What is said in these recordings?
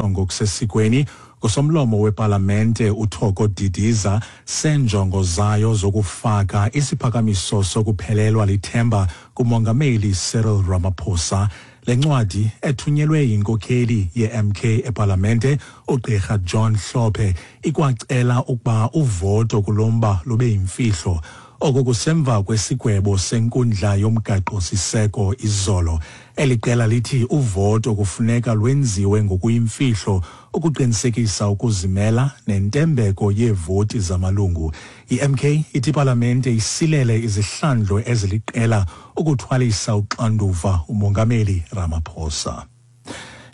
Ngokusesikweni ngosomlomo wepalamente uThoko Didiza senjongo zayo zokufaka isiphakamiso sokuphelelwa lithemba kumongameli Cyril Ramaphosa. Le ncwadi ethunyelwe yinkokheli ye-MK epalamente ugqirha John Hlophe ikwacela ukuba uvoto kulo mba lube yimfihlo. Oku kusemva kwesigwebo senkundla yomgaqo-siseko izolo. Eli qela lithi uvoto kufuneka lwenziwe ngokuyimfihlo ukuqinisekisa ukuzimela nentembeko yeevoti zamalungu. I-MK ithi ipalamente isilele izihlandlo eziliqela ukuthwalisa uxanduva umongameli Ramaphosa.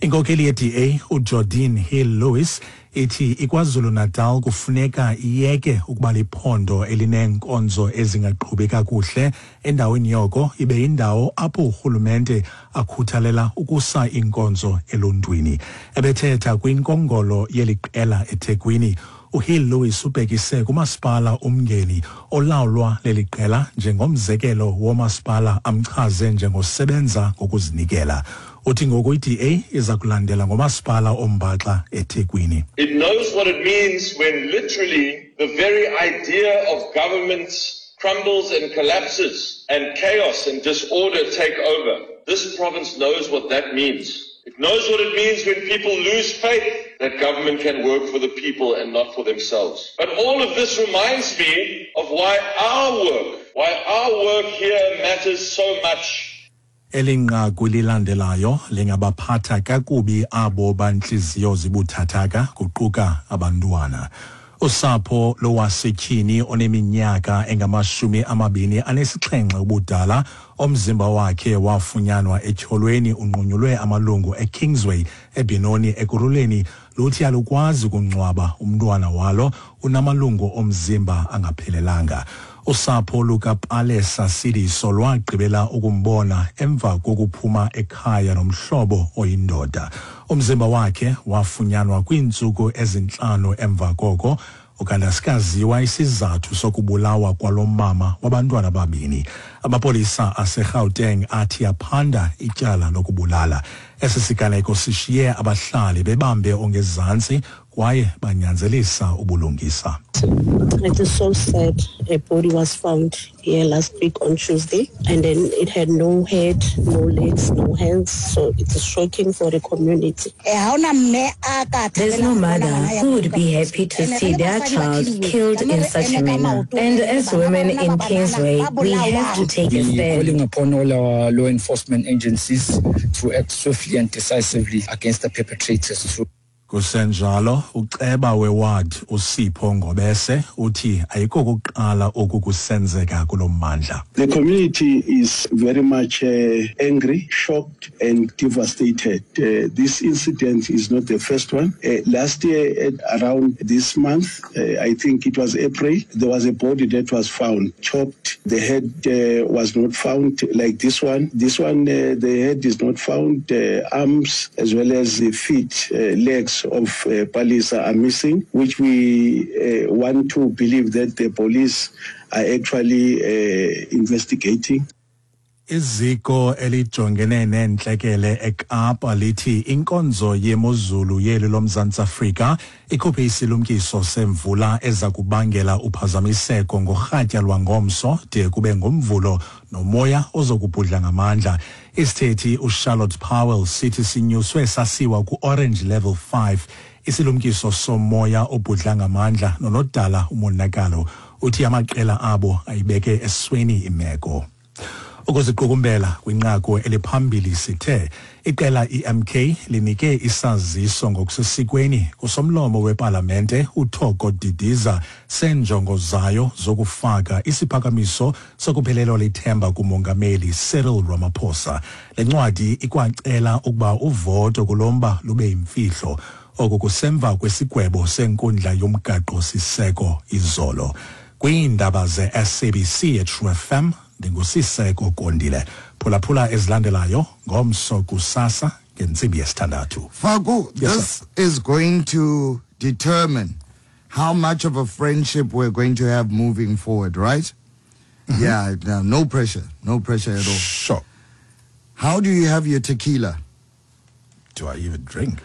Inkokheli ye-DA uJordin Hill Lewis ithi iKwaZulu-Natal kufuneka iyeke ukuba liphondo elineenkonzo ezingaqhubi kakuhle, endaweni yoko ibe yindawo apho urhulumente akhuthalela ukusa iinkonzo eluntwini. Ebethetha kwinkongolo yeli qela eThekwini, uHill Lewis ubhekise kumasipala uMngeni olawulwa leli qela njengomzekelo womasipala amchaze njengosebenza ngokuzinikela. Uthi ngoku i-DA iza kulandela ngomasipala ombaxa eThekwini. It knows what it means when literally the very idea of government crumbles and collapses and chaos and disorder take over. This province knows what that means. It knows what it means when people lose faith that government can work for the people and not for themselves. But all of this reminds me of why our work here matters so much. Eli nqaku lilandelayo lingabaphatha kakubi abo bantliziyo zibuthathaka, kuquka abantwana. Usapho lowasetyhini oneminyaka engama-27 ubudala omzimba wakhe wafunyanwa etyholweni unqunyulwe amalungu eKingsway eBenoni Ekurhuleni luthi alukwazi ukungcwaba umntwana walo unamalungu omzimba angaphelelanga. Usapho lukaPalesa Sidiso lwagqibela ukumbona emva kokuphuma ekhaya nomhlobo oyindoda. Umzimba wakhe wafunyanwa kwiintsuku ezi-5 emva koko. Ukanti asikaziwa isizathu sokubulawa kwalo mama wabantwana ababini. Amapolisa aseGauteng athi aphanda ityala lokubulala. Esi siganeko sishiye abahlali bebambe ongezantsi kwaye banyanzelisa ubulungisa. It is so sad. A body was found here last week on Tuesday, and then it had no head, no legs, no hands. So it is shocking for the community. There's no mother who would be happy to see their child killed in such a manner. And as women in Kingsway, we have to take a We're stand. calling upon all our law enforcement agencies to act swiftly and decisively against the perpetrators. To Kusenjalo, uceba weward uSipho Ngobese uthi ayikokuqala oku kusenzeka kulo mmandla. The community is very much angry, shocked and devastated. This incident is not the first one. Last year at around this month, I think it was April, there was a body that was found chopped. The head was not found like this one. This one, the head is not found. Arms as well as the feet, legs of Palisa are missing, which we want to believe that the police are actually investigating. Iziko elijongene neentlekele eKapa lithi inkonzo yemozulu yeli loMzantsi Afrika ikhuphe isilumkiso semvula eza kubangela uphazamiseko ngorhatya lwangomso de kube ngomvulo nomoya ozokubhudla ngamandla. Isithethi uCharlotte Powell sithi sinyuswe sasiwa ku-orange level 5 isilumkiso somoya obhudla ngamandla nonodala umonakalo. Uthi amaqela abo ayibeke esweni imeko. Ukuziqukumbela kwinqaku eliphambili sithe iqela iMK linike isaziso ngokusesikweni kusomlomo wepalamente uThoko Didiza senjongo zayo zokufaka isiphakamiso sokuphelelwa lithemba kumongameli Cyril Ramaphosa. Le ncwadi ikwacela ukuba uvoto kulomba lube yimfihlo. Oku kusemva kwesigwebo senkundla yomgaqo-siseko izolo. Kwiindaba ze-SABC eTrue FM, ndinguSiseko Kondile. Phulaphula ezilandelayo ngomso kusasa ngentsimbi yesithandathu. Faku, Yes, this is going to determine how much of a friendship we're going to have moving forward, right? Yeah, no, no pressure. No pressure at all. Sure. How do you have your tequila? Do I even drink?